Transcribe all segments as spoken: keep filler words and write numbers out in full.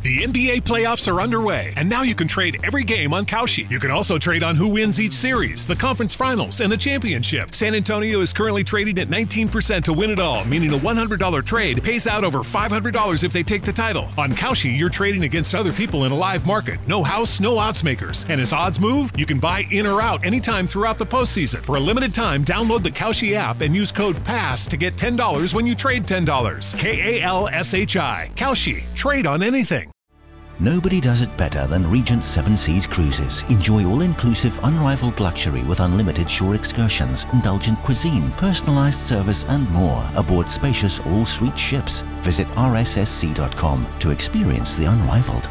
The N B A playoffs are underway, and now you can trade every game on Kalshi. You can also trade on who wins each series, the conference finals, and the championship. San Antonio is currently trading at nineteen percent to win it all, meaning a one hundred dollar trade pays out over five hundred dollars if they take the title. On Kalshi, you're trading against other people in a live market. No house, no odds makers. And as odds move, you can buy in or out anytime throughout the postseason. For a limited time, download the Kalshi app and use code pass to get ten dollars when you trade ten dollars. K A L S H I. Kalshi. Trade on anything. Nobody does it better than Regent Seven Seas Cruises. Enjoy all-inclusive, unrivaled luxury with unlimited shore excursions, indulgent cuisine, personalized service, and more aboard spacious all-suite ships. Visit R S S C dot com to experience the unrivaled.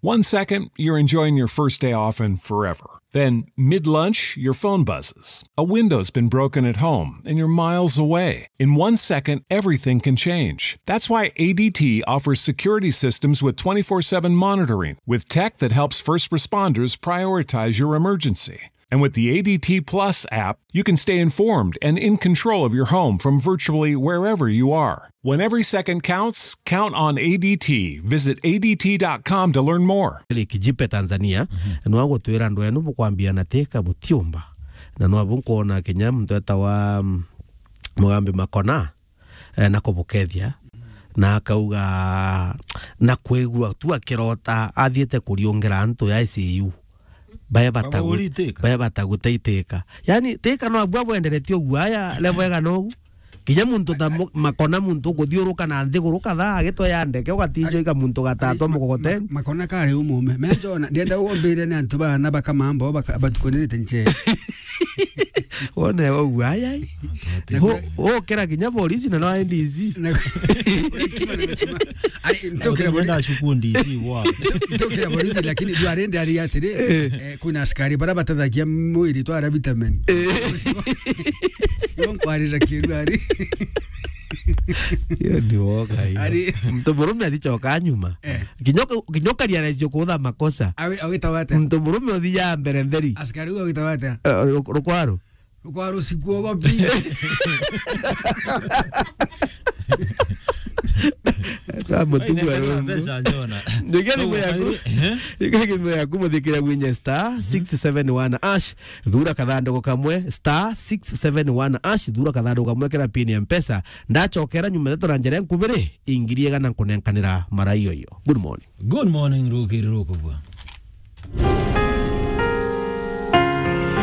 One second, you're enjoying your first day off and forever. Then, mid lunch, your phone buzzes. A window's been broken at home, and you're miles away. In one second, everything can change. That's why A D T offers security systems with twenty-four seven monitoring, with tech that helps first responders prioritize your emergency. And with the A D T Plus app, you can stay informed and in control of your home from virtually wherever you are. When every second counts, count on A D T. Visit A D T dot com to learn more. Lake Jipe, Tanzania, nwa gutwira andu enu bukwambia na Thika butiumba. Na nwa bu nkwona kinya muntu etawa, mm, Mugambi Makona, eh, na kubukethia. Na akauga, na kwigua tu akirota athiite kuriungira antu ya I C U. Bae batagu-, Baguri Thika. Bae bataguta i Thika. Yani, Thika no abua bwenderetie uguo, aya, level igana ugu. Kinya muntu ta mu-, Makona, muntu ukuthiuruka na nthiguru kathaa, agitwe ya ndeke, ugatinjwa ika muntu gatatwa mukokoteni. Ma-, Makona kari umume. Menjona, ndienda umbire ni antu bana bakamambo, baka-, batukunirite nche. Wone uguo, ai, ai. Ho-, ukira kinya polisi na no N D C. Na-, Ari, ntokira bori-, Ndienda cuku D C wa. Ntokira borithi, lakini ndwari ndari atiri, eh, kwina askari bara batathagia mwiri twara vitamin. Eh. Ibo nkwarira kiru ari. Iyo ni woga iyo. Ari. Muntu murume athicoka nyuma. Eh. Kinya uka-, kinya ukaria raisi ukutha makosa. Awi-, awitawa atia? Muntu murume uthia mbere ntheri. Askari uyu awitawa atia? Eh, ruk-, rukwaru. Kwa rusiku ogopi. Twa mutugu. Ai, nenda arungu. Mbeca njona. Nginya thimu yaku. Ehe. Nginya thimu yaku, muthikira gwinye star six seven one hash. Thura kathanduku kamwe, star six seven one hash. Thura kathanduku kamwe, kira pin ya Mpesa. Ndacokera nyuma ndeto na njira nkubiri, ingiri igana nkunenkanira mara iyo iyo. Good morning. Good morning, rukiri rukubwa.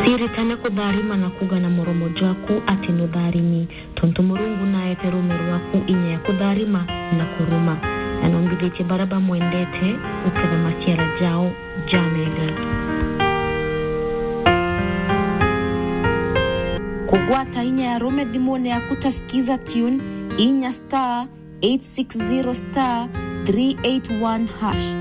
Ciritane kutharima na kuuga na muromo jwaku ati nutharimi, tontu Murungu naete ruume rwaku inya ya kutharima na kuruma, na nombithitie baria bamwendete guketha maciara jao jamega. Kugwata inya ya ruume thimune yaku ta Skiza Tune, inya star eight six zero star three eight one hash.